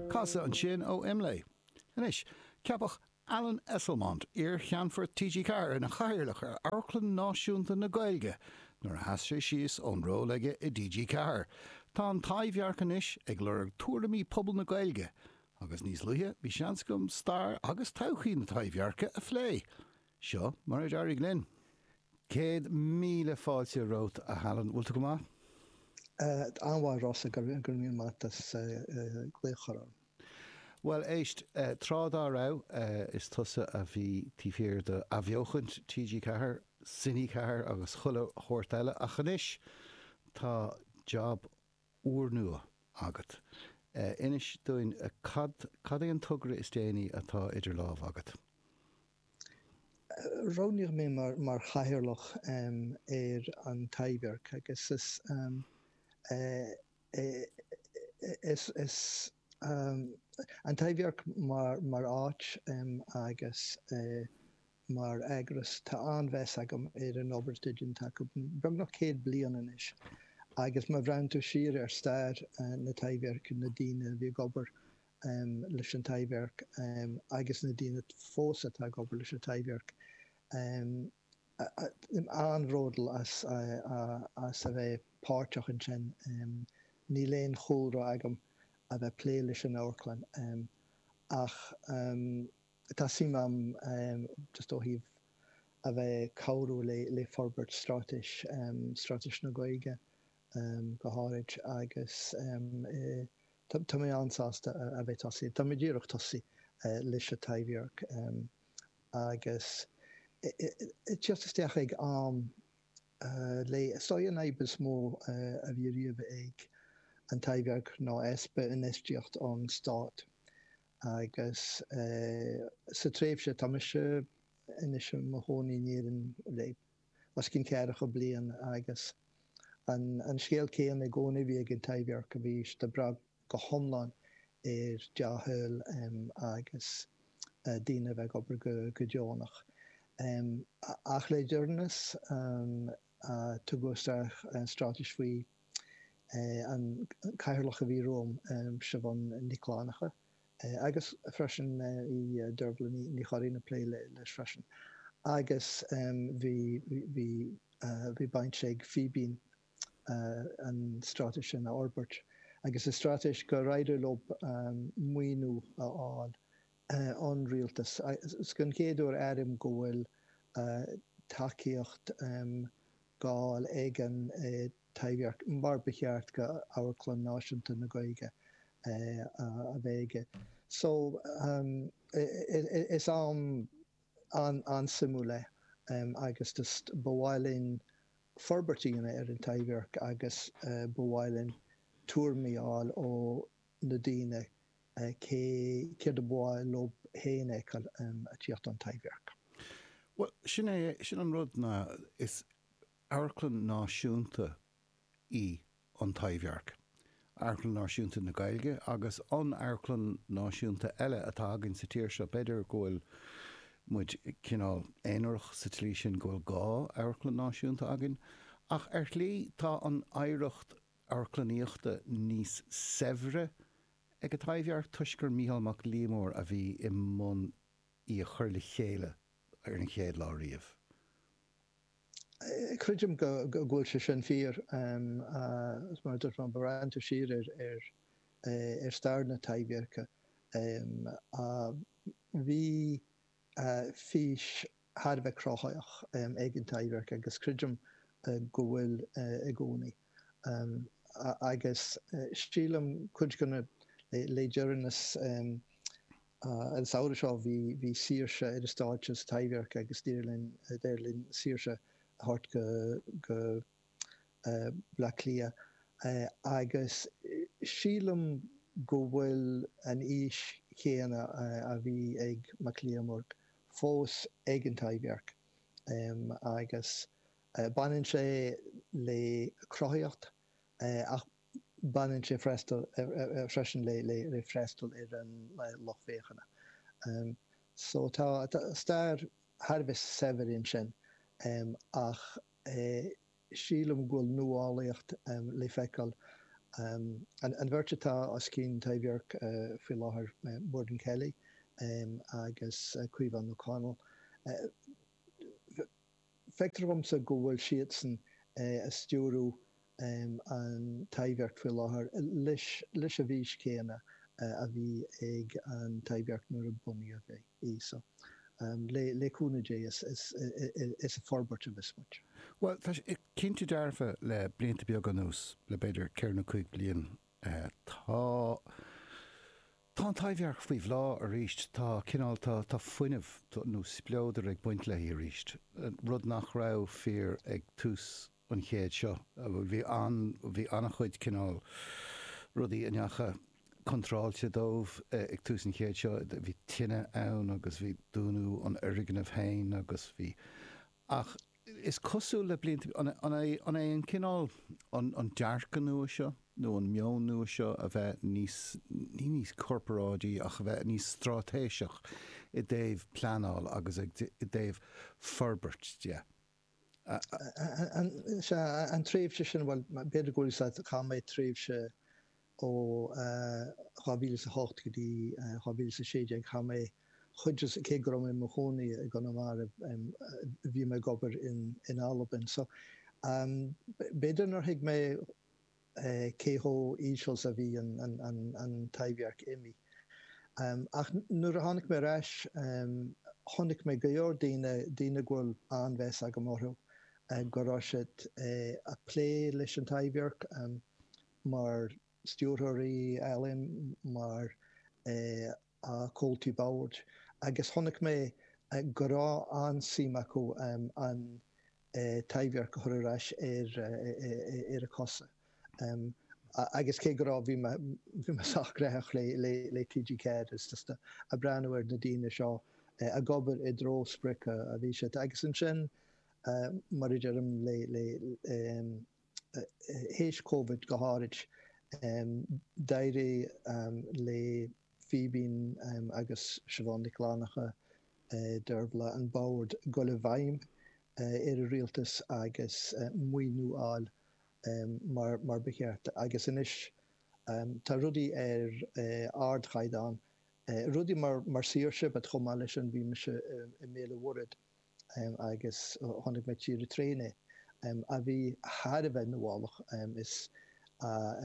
Casadh ansin ó Imlé. Anois, ceapadh Alan Esslemont, iar-Cheannfort TG4, ina chathaoirleach ar Amharclann Náisiúnta na Gaeilge nuair a sheas sé síos ón ról aige i dTG4. Tá an Taibhdhearc anois ag lorg tuairimí pobal na Gaeilge agus níos luaithe bhí seans agam stair agus todhchaí na Taibhdheirce a phlé. Seo mar a d'éirigh linn. 100,000 fáilte romhat, a Alan. Bhfuil tú go maith? An-mhaith, Rossa, go raibh míle maith agat as glaoch orm. Bhuel, éist, tráth dá raibh, is tusa a bhí taobh thiar de athbheochaint TG4, Cine 4 agus chuile shórt eile, ach anois tá jab úrnua agat. Inis dúinn, cad, cad é an togra is déanaí atá idir lámha agat? Roghnaíodh mé mar chathaoirleach ar an Taibhdhearc agus is Is an Taibhdhearc mar áit agus mar eagras, tá an-mheas agam ar an obair atá déanta acu, beagnach 100 bliain anois, agus má bhreathnaíonn tú siar ar stair na Taibhdheirce, na daoine a bhí ag obair leis an Taibhdhearc agus na daoine fós atá ag obair leis an Taibhdhearc, An-bhródúil as a bheith páirteach ansin. Níl aon chúlra agam a bheith plé leis an amharclann ach tá suim agam just ó thaobh a bheith cabhrú le forbairt straitéis, straitéis na Gaeilge go háirid agus tá mé an-sásta a bheith tosaithe. Tá mé díreach tosaithe leis an Taibhdhearc. agus teacht isteach ag am le, is dóigh an fhadhb is mó a bhí riamh ag an Taibhdhearc ná easpa infheistíocht ón stát agus sa tréimhse, tá mise anois i mo chónaí in Éirinn le os cionn ceathracha bliain agus an scéal céanna i gcónaí a bhí ag an Taibhdhearc, bhí siad ag brath go hiomlán ar dea-thoil agus daoine a bheith ag obair go deonach. Ach le deireanas tugadh isteach straitéis faoi an cathaoirleach a bhí romham, Siobhán Nic Fhlannchadha, agus freisin bhí Dervla Ní Churraoin ag plé leis freisin. Agus bhí bhí baint ag Fíbín an straitéis sin a fhorbairt agus is straitéis gur éirigh leo maoiniú a fháil ón rialtas. Is den chéad uair airím go bhfuil tacaíocht á fháil ag an Taibhdhearc mar ba cheart go Amharclann Náisiúnta na Gaeilge a bheith aige. So is am an-suimiúil é agus just ba mhaith linn forbairt a dhéanamh ar an Taibhdhearc agus ba mhaith linn tuairimí a fháil ó na daoine cé, céard a ba mhaith leo féin a fheiceáil ag tíocht ón Taibhdhearc. Bhuel, sin é, sin an rud ná is amharclann náisiúnta í an Taibhdhearc, Amharclann Náisiúnta na Gaeilge agus an amharclann náisiúnta eile atá againn sa tír seo. B'fhéidir go bhfuil muid cineál aonarach sa tslí sin go bhfuil dhá amharclann náisiúnta againn, ach ar shlí tá an oidhreacht amharclannaíochta níos saibhre ag an Taibhdhearc toisc gur Mícheál Mac Liammóir a bhí i mbun í a chur le chéile ar an chéad lá riamh. Creidim go bhfuil sé sin fíor. Mar a dúirt mé, má bhreathnaíonn tú siar ar stair na Taibhdheirce, bhí fís thar a bheith cruthaitheach ag an Taibhdhearc agus creidim go bhfuil i gcónaí. Agus sílim cuid de na, le deireanas, An samhradh seo bhí Saoirse ar an stáitse sa Taibhdhearc agus d'éirigh linn, d'éirigh linn Saoirse a thabhairt go go Bleá Cliath agus sílim go bhfuil an fhís chéanna a bhí ag Mac Liammóir fós ag an Taibhdhearc agus baineann sé le cruthaíocht ach baineann sé freisin le freastal ar an lucht féachana. So tá stair thar a bheith saibhir ansin ach sílim go bhfuil nuálaíocht le feiceáil. An bheirt atá os cionn Taibhdhearc faoi láthair, Muireann Kelly agus Caomhán O'Connell, feictear dhomsa go bhfuil siadsan ag stiúradh an Taibhdhearc faoi láthair leis an bhfís chéanna a bhí ag an Taibhdhearc nuair a bunaíodh í. So, le cúnamh Dé, is ag forbairt a bheas muid. Bhuel, tá sé cinnte dearfa le blianta beaga anuas, le b'fhéidir ceithre nó cúig bliain, tá, tá an Taibhdhearc faoi bhláth arís, tá cineál, tá, tá fuinneamh nó spleodar ag baint léi arís, rud nach raibh fíor ag tús an chéid seo. Bhí an, bhí an-chuid cineál rudaí a ndeacha contráilte dóibh ag tús an chéid seo. Bhí tine ann agus bhí dúnadh an fhoirgnimh féin agus bhí, ach is cosúil le blianta, an, an é, an é an cineál, an, an dearcadh nua seo nó an meon nua seo a bheith níos, ní níos corparáidí ach a bheith níos straitéiseach i dtaobh pleanáil agus i dtaobh forbairt de. Sea, an tréimhse sin, bhuel, b'fhéidir go bhfuil a fhios agat, chaith mé tréimhse ó 2008 go dtí 2016, chaith mé chuid, cé go raibh mé i mo chónaí i gConamara, bhí mé ag obair in Albain. So, b'fhéidir nár thuig mé cé chomh íseal is a bhí an Taibhdhearc imithe. Ach nuair a tháinig mé ar ais, chonaic mé go leor daoine, daoine go bhfuil an-mheas agam orthu, go raibh siad ag plé leis an Taibhdhearc mar stiúrthóirí ealaíon, mar chomhaltaí boird agus chonaic mé go raibh an-suim acu an Taibhdhearc a chur ar ais ar a cosa. Agus cé go raibh, bhí mé, bhí mé sách gnaitheach le le TG4 is just ag breathnú ar na daoine seo ag obair i dtreo sprioc a bhí siad. Agus ansin, mar a deirim, le le théis Covid go háirid, d'éirigh le Fíbín agus Siobhán Nic Fhlannchadha, Dearbhla, an bord dul i bhfeidhm ar an rialtas agus maoiniú a fháil mar ba cheart. Agus anois tá rudaí ar ardchaighdeán, rudaí mar Saoirse, but chomh maith leis sin bhí mise i mBéal an Mhuirthead agus chonaic mé Tír an Traein é, a bhí thar a bheith nuálach.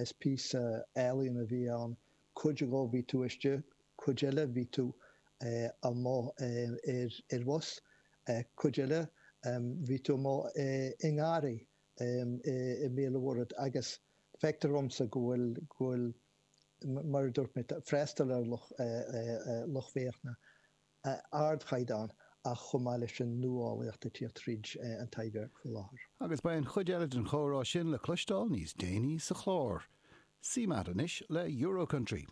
Is píosa ealaíon a bhí ann Cuid dhó bhí tú istigh, cuid eile bhí tú amuigh ar bhus, cuid eile bhí tú amuigh i ngarraí i mBéal an Mhuirthead agus feictear dhomsa go bhfuil, go bhfuil, mar a dúirt mé, freastal ar lucht féachana ardchaighdeán ach chomh maith leis sin nuálaíocht ag tíocht tríd an Taibhdhearc faoi láthair. Agus beidh an chuid eile den chomhrá sin le cloisteáil níos déanaí sa chlár. CMAT anois le Euro Country.